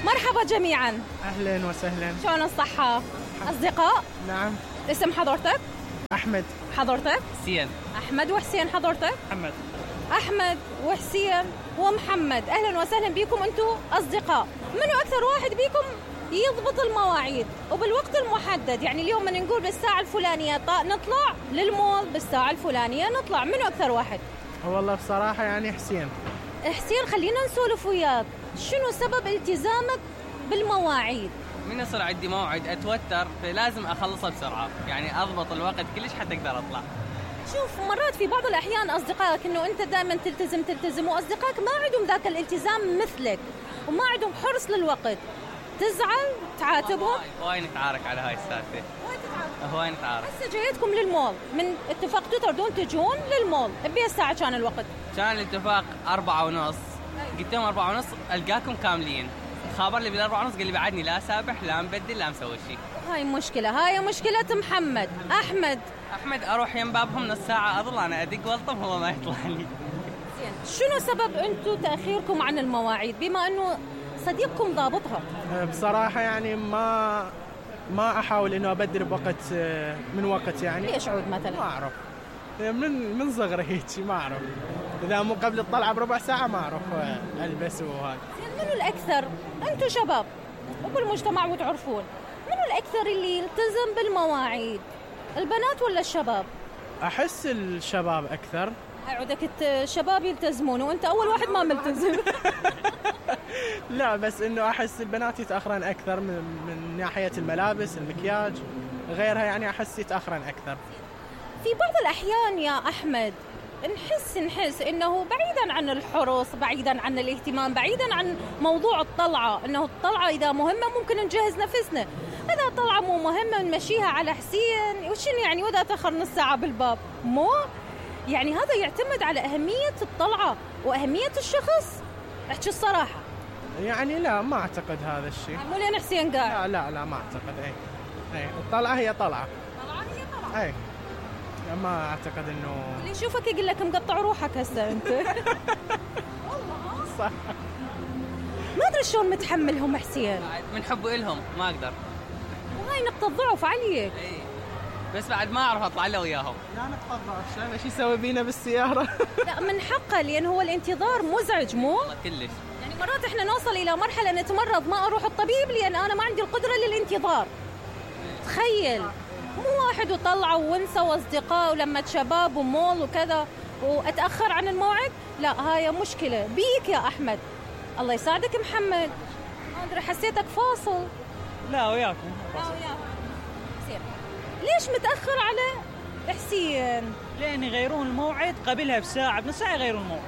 مرحبا جميعا. أهلا وسهلا. شلون الصحة؟ أصدقاء؟ نعم. اسم حضرتك؟ أحمد. حضرتك؟ حسين. أحمد وحسين. حضرتك؟ محمد. أحمد وحسين ومحمد، أهلا وسهلا بكم. أنتم أصدقاء. منو أكثر واحد بكم يضبط المواعيد وبالوقت المحدد؟ يعني اليوم من نقول بالساعة الفلانية نطلع للمول، بالساعة الفلانية نطلع، منو أكثر واحد؟ والله بصراحة يعني حسين. حسين، خلينا نسولف وياك، شنو سبب التزامك بالمواعيد؟ من يصير عندي موعد أتوتر، فلازم أخلصه بسرعة، يعني أضبط الوقت كلش حتى أقدر أطلع. شوف، مرات في بعض الأحيان أصدقائك إنه أنت دائما تلتزم وأصدقائك ما عندهم ذاك الالتزام مثلك وما عندهم حرص للوقت، تزعل تعاتبهم؟ هواي نتعارك على هاي السالفة. هواي نتعارك. هسه جايتكم للمول، من اتفقتوا تردون تجون للمول بأي ساعة كان الوقت؟ كان الاتفاق 4:30. قلت لهم 4:30 ألقاكم كاملين. خابر لي بال4:30 قال لي بعدني لا سابح لا مبدل لا مسوي شيء. هاي مشكلة محمد. أحمد أروح يم بابهم نص ساعة أظل أنا أدق والطم هو ما يطلع لي. شنو سبب أنتم تأخيركم عن المواعيد بما أنه صديقكم ضابطها؟ بصراحة يعني ما أحاول إنه أبدل بوقت من وقت يعني. ليش عود مثلا؟ ما أعرف، من صغري هيك ما أعرف. إذا مو قبل الطلعة بربع ساعة ما أعرف ألبس وهاي. منو الأكثر؟ أنتم شباب وبالمجتمع وتعرفون، منو الأكثر اللي يلتزم بالمواعيد؟ البنات ولا الشباب؟ أحس الشباب أكثر. عودك الشباب يلتزمون وأنت أول واحد ما ملتزم. لا بس إنه أحس البنات يتأخرن أكثر من ناحية الملابس، المكياج، غيرها يعني أحس يتأخرن أكثر. في بعض الأحيان يا أحمد نحس إنه بعيداً عن الحرص، بعيداً عن الاهتمام، بعيداً عن موضوع الطلعة، إنه الطلعة إذا مهمة ممكن نجهز نفسنا، إذا طلعة مو مهمة نمشيها على حسين وشنو يعني وإذا تأخر نص ساعة بالباب مو يعني. هذا يعتمد على أهمية الطلعة وأهمية الشخص. احكي الصراحة يعني لا ما أعتقد هذا الشيء. مو لين حسين قال لا ما أعتقد. أي الطلعة هي طلعة. أي ما أعتقد إنه اللي يشوفك يقول لك مقطع روحك هسه أنت. صح. ما أدري شلون متحملهم حسين. من حب إلهم ما أقدر. وهاي نقطة ضعف عليك. بس بعد ما أعرف أطلع له وياهم. لا نقطة ضعف، أنا شو يسوي بينا بالسيارة؟ لا من حقه، لأن هو الانتظار مزعج مو؟ كلش. يعني مرات إحنا نوصل إلى مرحلة نتمرض ما أروح الطبيب لأن أنا ما عندي القدرة للانتظار. تخيل مو واحد وطلعوا ونسوا أصدقاء ولما شباب ومول وكذا وأتأخر عن الموعد. لا هاي مشكلة بيك يا أحمد. الله يساعدك محمد، ما أدري حسيتك فاصل. لا وياكم. حسين ليش متأخر على حسين؟ لأن يغيرون الموعد قبلها بساعة بنص ساعة يغيرون الموعد.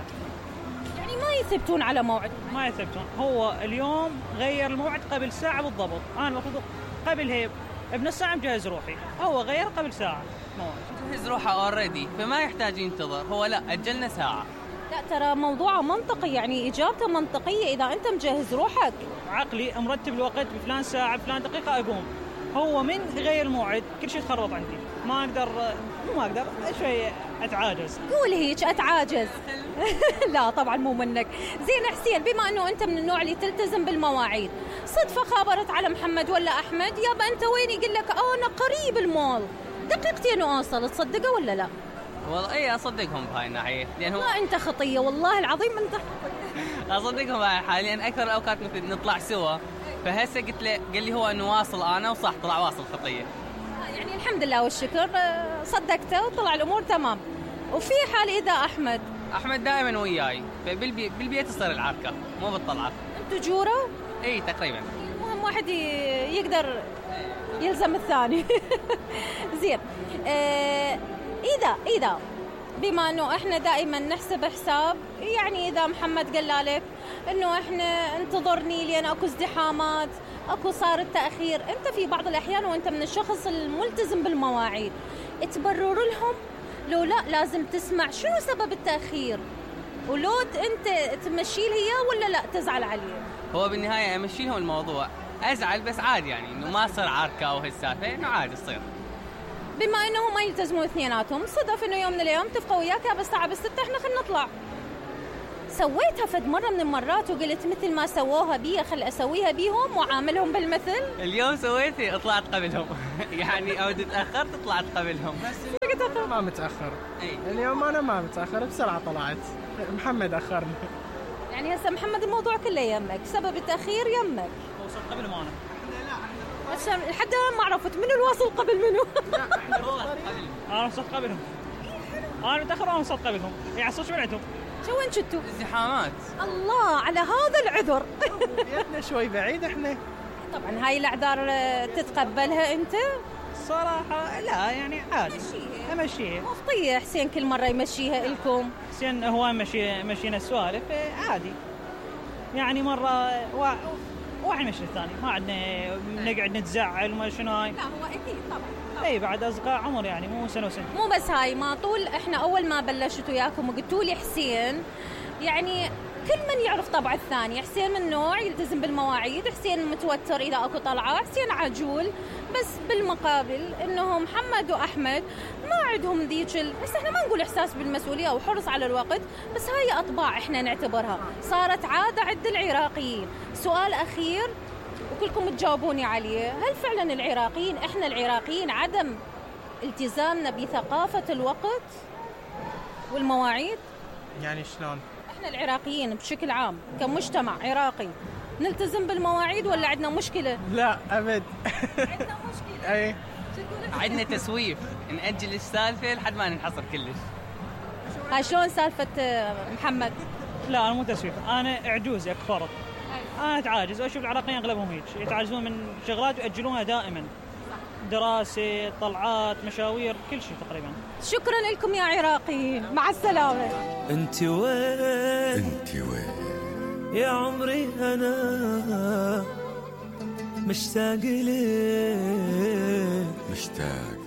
يعني ما يثبتون على موعد؟ ما يثبتون. هو اليوم غير الموعد قبل ساعة بالضبط، أنا المفروض قبلها بنص ساعة مجهز روحي، هو غير قبل ساعة موعد. جهز روحه أوريدي فما يحتاج ينتظر، هو لا أجلنا ساعة. لا ترى موضوعه منطقي، يعني إجابته منطقية. إذا أنت مجهز روحك عقلي مرتب الوقت بفلان ساعة بفلان دقيقة أقوم، هو من غير الموعد كل شيء تخرب عندي، ما أقدر شوي أتعاجز. قول هيك أتعاجز. لا طبعا مو منك. زين حسين، بما أنه أنت من النوع اللي تلتزم بالمواعيد، صدفة خابرت على محمد ولا أحمد يابا أنت وين، يقول لك أنا قريب المول دقيقتين وأوصل، تصدقه ولا لا؟ والله إيه أصدقهم بهاي الناحية، لأن هو ما أنت خطية والله العظيم أنت خطية. أصدقهم بهاي حاليا أكثر الأوقات مثل نطلع سوا، فهسه قلت له قال لي هو إنه واصل أنا وصح طلع واصل خطية. يعني الحمد لله والشكر صدقته وطلع الأمور تمام. وفي حال إذا أحمد دائما وياي، بالبيت تصير العركة مو بالطلعة. أنتوا جورة؟ إيه تقريبا. المهم واحد يقدر يلزم الثاني. زين. إذا بما أنه إحنا دائما نحسب حساب، يعني إذا محمد قال لك إنه إحنا انتظرني لأن أكو ازدحامات، أكو صار التأخير، أنت في بعض الأحيان وأنت من الشخص الملتزم بالمواعيد تبرر لهم لو لا لازم تسمع شنو سبب التأخير، ولو أنت تمشي هي ولا لا تزعل عليه. هو بالنهاية أمشي لهم الموضوع، أزعل بس عادي، يعني إنه ما صار عركة أو هالسالفة، إنه عادي تصير. بما إنه ما يلتزموا اثنيناتهم، صدف إنه يوم من الأيام اتفقوا وياك بس الساعة 6 إحنا خلينا نطلع سويتها فد مرة من المرات وقلت مثل ما سووها بي خل أسويها بيهم وعاملهم بالمثل؟ اليوم سويتي طلعت قبلهم يعني او تأخرت طلعت قبلهم. ما متأخر. اي اليوم أنا ما متأخر، بسرعة طلعت. محمد أخرني. يعني هسه محمد الموضوع كله يمك، سبب التأخير يمك. وصلت قبل ما أنا. بس لحد الآن ما عرفت منو الواصل قبل منو. أنا وصلت قبلهم. أنا متأخر وأنا وصلت قبلهم. يعني صوت بعتهم. شو وين كنتوا؟ ازدحامات. الله على هذا العذر. بيتنا شوي بعيد احنا. طبعا هاي الأعذار تتقبلها أنت؟ صراحة لا يعني عادي. أمشيها. مفطية حسين كل مرة يمشيها إلكم. حسين هو مشينا السوالف عادي. يعني مرة واحد مشي الثاني، ما عندنا نقعد نتزعل وما شنو هاي. لا هو أكيد طبعا. اي بعد اصدقاء عمر يعني مو سنه وسنه. مو بس هاي، ما طول احنا اول ما بلشت وياكم وقلتوا لي حسين، يعني كل من يعرف طبع الثاني. حسين من نوع يلتزم بالمواعيد، حسين متوتر اذا اكو طلعه، حسين عجول. بس بالمقابل انه محمد واحمد ما عندهم ذيك بس احنا ما نقول احساس بالمسؤوليه او حرص على الوقت، بس هاي اطباع احنا نعتبرها صارت عاده عند العراقيين. سؤال اخير وكلكم تجاوبوني عليه، هل فعلا العراقيين احنا العراقيين عدم التزامنا بثقافة الوقت والمواعيد؟ يعني شلون؟ احنا العراقيين بشكل عام كمجتمع عراقي نلتزم بالمواعيد ولا عندنا مشكلة؟ لا أبد. عندنا مشكلة. أي عندنا تسويف، نأجل السالفة لحد ما ننحصر كلش. هاي شلون سالفة محمد؟ لا انا مو تسويف، انا عجوز كفرط. انا اتعاجز واشوف العراقيين اغلبهم هيك يتعجزون من شغلات ويأجلونها دائما. دراسة، طلعات، مشاوير، كل شيء تقريبا. شكرا لكم يا عراقيين، مع السلامة. انت وين يا عمري انا مشتاق لك